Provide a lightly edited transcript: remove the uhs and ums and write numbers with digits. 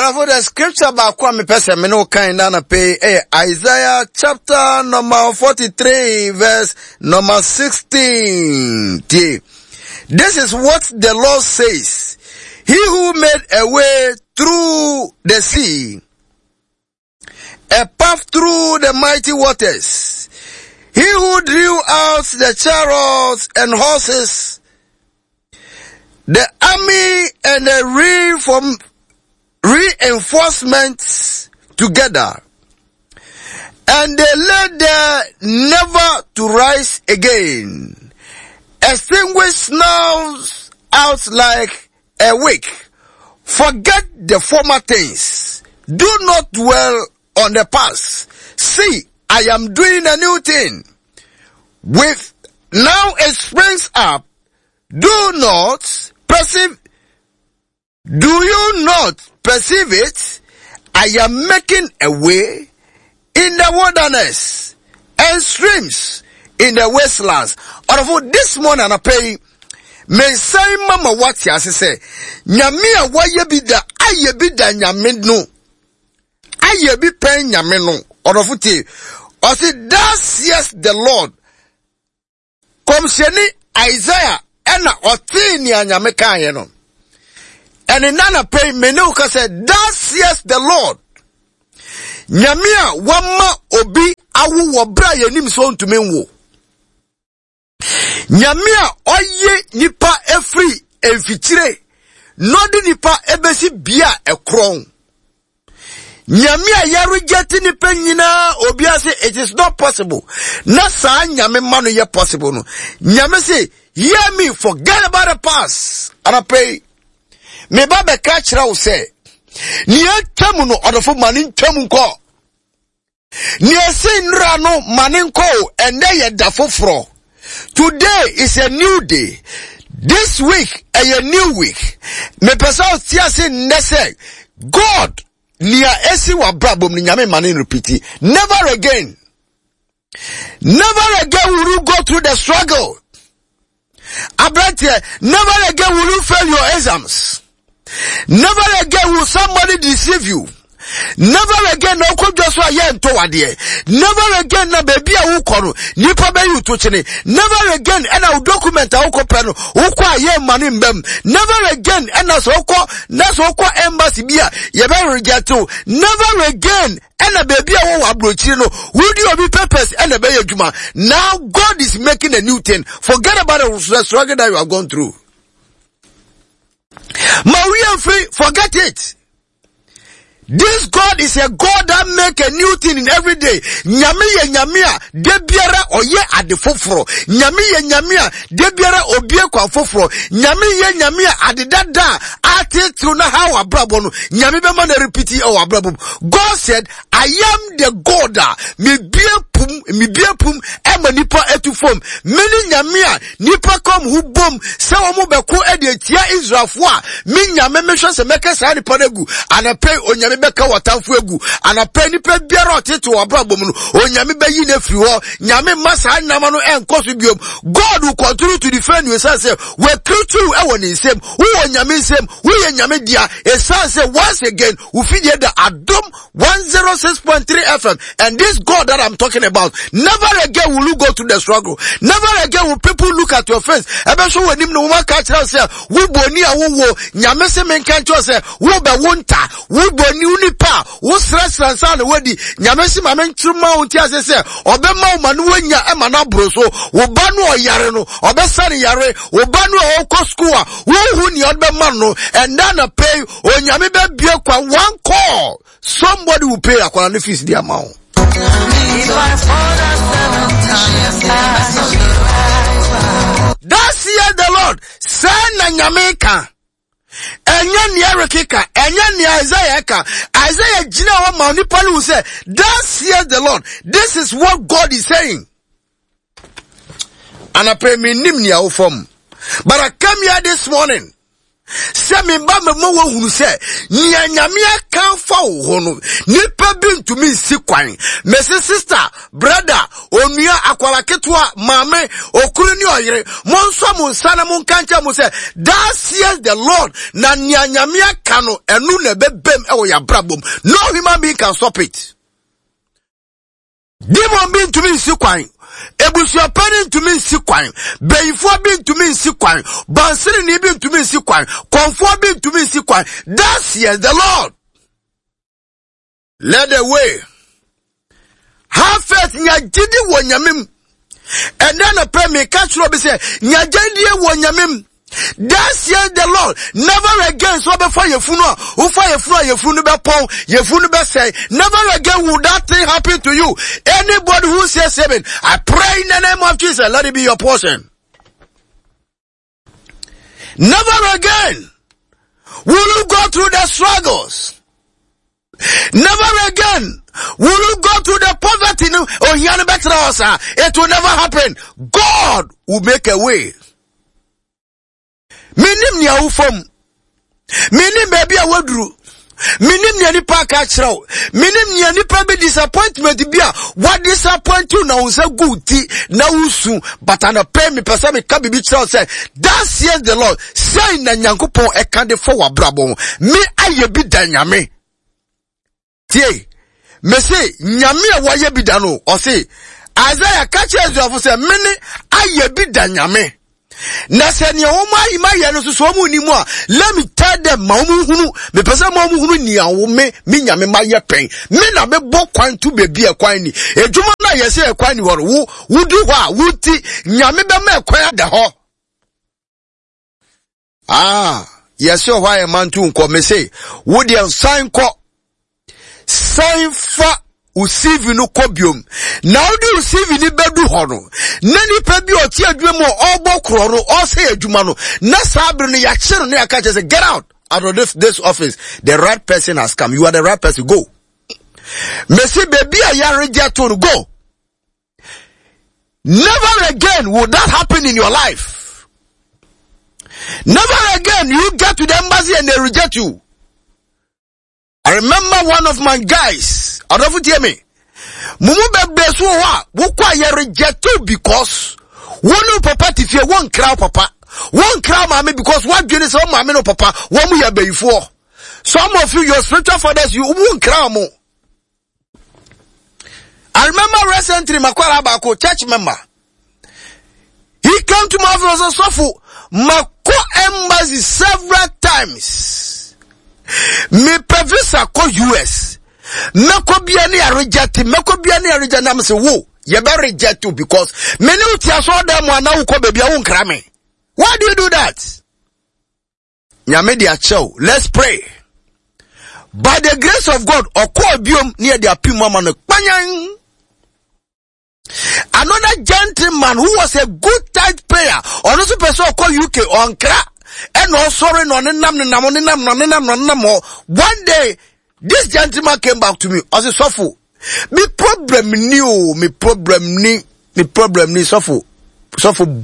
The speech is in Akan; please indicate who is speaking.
Speaker 1: Ɔdɔfo, the scripture baako a mepɛ sɛ me ne wo kan na anɔpɛ yi ɛyɛ Isaiah chapter number 43 verse number 16. Tie. This is what the Lord says. He who made a way through the sea, a path through the mighty waters. He who drew out the chariots and horses, the army and the reform, reinforcements together, and they lay there never to rise again. Extinguish snuffs out like a wick. Forget the former things. Do not dwell on the past. See, I am doing a new thing. With now it springs up. Do not perceive. Do you not perceive it? I am making a way in the wilderness and streams in the wastelands. Ɔdɔfo, this morning anɔpa yi, mesan ma ma wate ase sɛ nyame a wayɛ bi da ayɛ bi da nyame no ayɛ bi pɛn nyame no. Ɔdɔfo tie, ɔse thus says the Lord Kɔmhyɛni Isaiah ɛna ɔtee nea Nyame kaeɛ no. Ɛne nana pɛ yi me ne wo ka sɛ thus says the Lord. Nyame a wama obi awo wɔ berɛ a yɛnim sɛ ɔntumi nwo. Nyame a ɔye nipa efiri mfikyire na ɔde nipa ebesi bea a ɛkorɔn. Nyame a yɛreject nipa nyinaa obi ase it is not possible. Na saa nyame ma no yɛ possible no. Nyame se hear me forget about the past. Anɔpa yi me ba bɛka kyerɛ wo sɛ nea atwam no ɔdɔfo ma ne ntwam nkɔ. Nea esi nnora no ma ne nkɔ o, ɛnnɛ yɛ da foforɔ. Today is a new day. This week ɛyɛ new week. Mepɛ sɛ ɔte ase nnɛ sɛ God nea esi w'abrabɔ mu no nyame ma ne repeat. Never again. Never again will you go through the struggle. Aberanteɛ, never again will you fail your exams. Never again will somebody deceive you. Never again na ɔkɔ dwa so a yɛ ntɔ wadeɛ. Never again na baabi a wokɔ no nipa bɛyi to kyene. Never again ɛna wo document a wokɔ pɛ no wokɔ a yɛ mma no mbam. Never again ɛna sɛ wokɔ na sɛ wokɔ embassy bi a yɛbɛ reject wo. Never again ɛna baabi a wɔwɔ aburokyiri no wodi obi papers ɛna ɛbɛyɛ adwuma now God is making a new thing forget about the struggle that you have gone through ma wia mfiri forget it this God is a God that make a new thing in every day. Nyame yɛ nyame a da biara ɔyɛ ade foforɔ. Nyame yɛ nyame a da biara obie kwan foforɔ. Nyame yɛ nyame a ade dada a atetew na ha wɔ abrabɔ no. Nyame bɛma na repeat ɛwɔ abrabɔ mu. God said, I am the God a mebie pum, mebie pum ɛma nipa etu fam. Mene nyame a nipa kɔm ho bom sɛ wɔn bɛko ɛde atia Israelfoɔ a me nyame mehwɛ sɛ mɛka saa nipa no agu. Anapɛ onyame bɛka wɔtamfo agu. Anapɛ nipa biara ɔtete wɔ abrabɔ mu no onyame bɛyi no afiri hɔ. Nyame mma saa nnama no ɛnkɔ so biom. God will continue to defend you ɛsiane sɛ wɔakiritu ɛwɔ ne nsam. Wowɔ nyame nsam, woyɛ nyame dea. Ɛsiane sɛ once again wo fidie da Adom 106.3 FM and this God that I'm talking about never again will you go through the struggle never again will people look at your face ɛbɛhwɛ wɔ anim na wɔn aka kyerɛ sɛ wo bɔni a wowɔ nyame se menka nkyerɛ sɛ wobɛ wo nta wo bɔni wo nipa a wosrɛsrɛ nsa na wadi nyame se ma menkyerɛ ma wo nti ase sɛ ɔbɛma wo ma no wanya ɛma no aboro so wo ba no ɔyare no ɔbɛsa ne yare wo ba no a ɔkɔ sukuu a wohu nea ɔde bɛma no ɛnda na pɛi Onyame bɛbie kwan one call somebody will pay akwadaa no fees de ama wo. Thus says the Lord, sɛ na nyame ka. Ɛnyɛ nea Eric ka, ɛnyɛ nea Isaiah ka. Isaiah gyina hɔ ma nipa no hu sɛ, thus says the Lord, this is what God is saying. Anapɛ menim nea wofam. But I came here this morning. Sɛ meba mɛma woahunu sɛ nea Nyame aka afa wo ho no, nipa bi ntumi nsi kwan. Mese sister, brother, onua, akwara ketewa, maame, okunu ne ɔyere, monsɔ mo nsa na monka nkyerɛ mo sɛ, Thus says the Lord, na nea Nyame aka no, ɛno na ɛbɛbam ɛwɔ yɛabrabɔ mu. No human being can stop it. Demon bi ntumi nsi kwan. Ebusuapɛni ntumi nsi kwan. Bɛyifoɔ bi ntumi nsi kwan. Bansirini bi ntumi nsi kwan. Kɔnfoɔ bi ntumi nsi kwan. Thus says the Lord. Let the way. Have faith nya gyidi wɔ nyame mu. Ɛnɛ nɔpɛ meka kyerɛ obi sɛ nya gyidie wɔ nyame mu. Thus says the Lord, never again so bɛfa yɛfunu a wofa yɛfunu a yɛfunu no bɛpɔn yɛfunu no bɛsɛe. Never again will that thing happen to you. Anybody who says amen, I pray in the name of Jesus, let it be your portion. Never again will you go through the struggles. Never again will you go through the poverty. Oh, it will never happen. God will make a way. Menim nea wofa mu. Menim baabi a woaduru. Menim nea nipa aka akyerɛ wo. Menim nea nipa bi disappointment bi a wa disappoint you na wo nsa gu ti na wosu. But anɔpɛ mepɛ sɛ meka biribi kyerɛ wo sɛ thus says the Lord, sɛn na Nyankopɔn ɛka de fa w'abrabɔ ho. Me ayɛ bi da Nyame. Tie, mese Nyame a wayɛ bi da no, ɔse, Isaiah ka kyerɛ Israelfo sɛ, mene ayɛ bi da Nyame. Na sɛ nea wɔn ayi ma yɛ no so so wɔn nni mu a, let me tell them ma wɔn hunu, mepɛ sɛ ma wɔn hunu nea wo me me Nyame ma yɛ pɛn. Me na mebɔ kwan to baabi a ɛkwan ni. Adwuma no a yɛsɛ ɛkwan ni hɔ no, wo wodu hɔ a wonti Nyame bɛma ɛkwan ada hɔ. Ah, yɛsɛ hɔ a yɛma nto nkɔ. Mese, wo deɛ san kɔ. San fa wo CV no kɔ biom. Na wode wo CV no bɛdu hɔ no, na nipa bi a ɔte adwuma mu a ɔrebɔ korɔ no, ɔresɛ adwuma no, na saa bere no yɛakye no na yɛaka kyerɛ sɛ, get out of this office. The right person has come. You are the right person. Go. Mese, baabi a yɛaregye to no, go. Never again will that happen in your life. Never again you get to the embassy and they reject you. I remember one of my guys, adɔfo tie me. Mo mu bebree so wɔ hɔ a wokɔ a yɛ reject you because wo ne wo papa te fie wɔnkra wo papa wɔnkra wo maame because woadwene sɛ wo maame ne wo papa wɔn mu yɛ abayifoɔ. Some of you, your spiritual fathers, you wonkra wɔn. I remember recently makwara baako church member. He came to my office and said, Sɔfo, makɔ embassy several times. Mepɛ visa kɔ US. Mɛkɔ bia ne areject, mɛkɔ bia ne areject na mese wo, yɛbɛ reject you because me ne wo te asɔrɔdan mu anaa wokɔ baabi a wonkra me. Why do you do that? Nyame de akyɛ wo. Let's pray. By the grace of God, ɔkɔɔ biom ne yɛde apem ama no kpanyan. Another gentleman who was a good tithe payer, ɔno nso pɛ sɛ ɔkɔ UK ɔnkra ɛna ɔsɔre na ɔnenam nenam ɔnenam na ɔnenam na ɔnenam hɔ. One day, this gentleman came back to me. Ɔse sɔfo, me problem ni o, me problem ni, me problem ni sɔfo, sɔfo.